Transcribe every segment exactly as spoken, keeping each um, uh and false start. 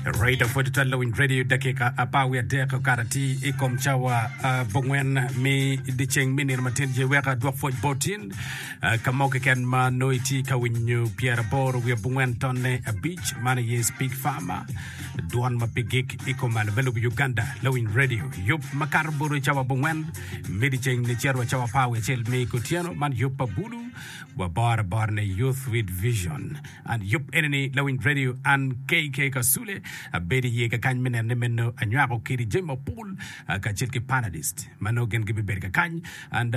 Right pwod twal lawiny radio dakika apar wiye adek okato atir i kom cawa abongwen me dyeceng me nino matin je wek adwok pwoc botin ka mo keken ma nongo itye ka winyo pyeraboro wiye abongwen tonne abic man aye Speak Farmer dwon ma pe gik i kom malo me lobo Uganda lawiny radio yub makato boro i cawa abongwen me dyeceng nicito wa cawa apar wiye acel me kutyeno man yub pa bulu waboro abora ni Youth with Vision and yub enini lawiny radio an K K Kasule abedo iye kakany me neno ni meno anywako kidi jami mapol kacel ki panelist ma nongo gin gibibedo kakany and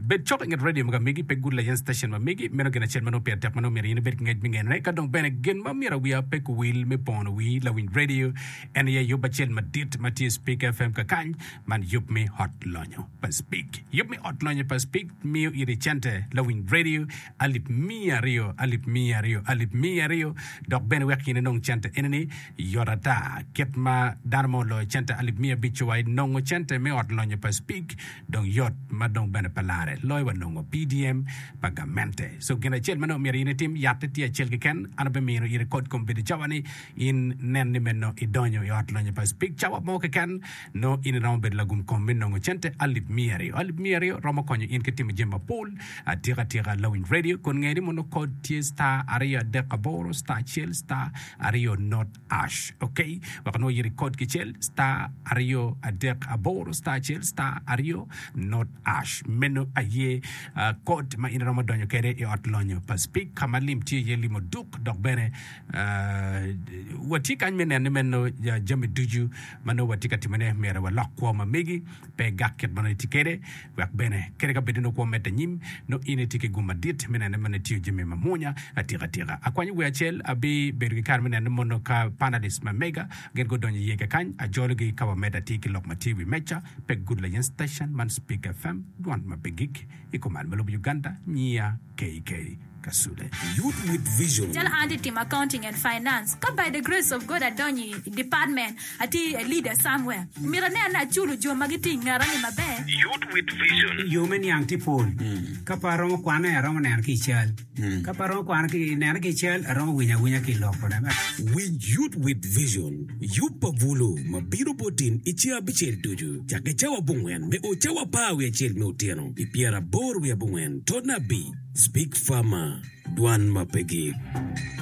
bed cok inget radio ma kamegi pe gud layen station ma megi meno gin acel ma nongo pire tek ma nongo myero in ibed ki ngec me ngenone ka dong bene gin ma myero wiya pe kuwil me pono wi lawiny radio en aye yub acel madit ma tye Speak F M kakany man yub me ot lonyo pa Speak yub me ot lonyo pa Speak miyo iri cente lawiny radio alip miya aryo alip miya aryo alip miya aryo dok bene wek in inong cente enini yot ata kit ma dano mo oloyo cente alip miya abic wa inongo cente me ot lonyo pa Speak dong yot ma dong bene pe lare loyo wa nongo P D M pa gamente. So gin acel ma nongo myero in itim yatte tye acel keken an abimino iri kod kom bedo cawa ni in nen ni meno idonyo i ot lonyo pa Speak cawa mo keken nongo in iromo bedo lagum kom me nongo cente alip miya aryo alip miya aryo romo konyo in ki timo jami mapol atika atika lawiny radio kun nge ni mono kod tye star aryo adek aboro star acel star aryo not hash. Ok, wek nongo iri kod kicel star aryo adek aboro star acel star aryo not hash meno aye uh, kod ma in iromo donyo kede i ot lonyo pa Speak ka ma lim tye iye limo duk dok bene uh, watye kany me neno ni meno uh, jami ducu ma nongo watye ka timone myero walok kwo ma megi pe gak kit ma nongo itye kede wek bene kede ka bedo nongo kwo medde anyim nongo in itye ki gum madit me neno ni meno itiyo jami mamwonya atika atika akwanyo wi acel abibedo ki kare me neno ni mono ka panelist ma mega gin gudonyo iye kakany ajologi ka wamedde atir ki lok ma tye i wi meca pe gud layen station man Speak F M dwon ma pe gik i kom malo me lobo Uganda nyia K K Kasule. Youth with Vision. Calo an atye timo accounting and finance ka by the grace of God adonyo i department atye a leader somewhere myero anen ni aculo jo ma gitye i ngeta ni maber. Youth with Vision. Yo me niang tye pol ka pe aromo kwane aromo neno ki i cal ka pe aromo kwano ki neno ki i cal aromo winyo awinya ki i lok kode. Winj Youth with Vision. Yub pa bulu ma bino botin i ceng abicel ducu cakke cawa abongwen me o cawa apar wiye acel me otyeno i pyeraboro wiye abongwen tonna abic Speak Farmer dwan ma pe gik.